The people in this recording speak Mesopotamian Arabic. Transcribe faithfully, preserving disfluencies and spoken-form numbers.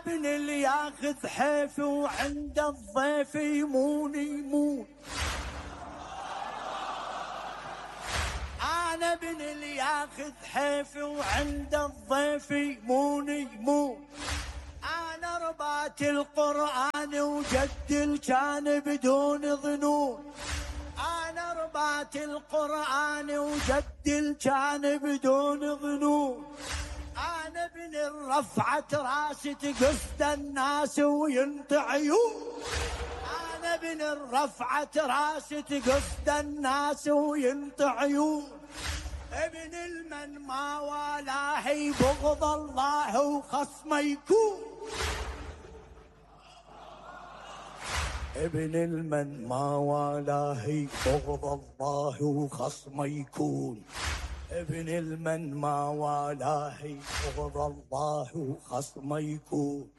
ابن اللي ياخذ حيفي وعند الضيف يمون يمون. انا ابن اللي ياخذ حيفي وعند الضيف يمون يمون. انا ربات القرآن وجد كان بدون ظنون. انا ربات القرآن وجد كان بدون ظنون. انا ابن الرفعة راس تقصد الناس وينطي عيون. انا ابن الرفعة راس تقصد الناس وينطي عيون. ابن المن ما والاه بغض الله وخصمه يكون. ابن المن ما والاه بغض الله وخصمه يكون. ابن المن ما والاه بغض الله وخصمه يكون.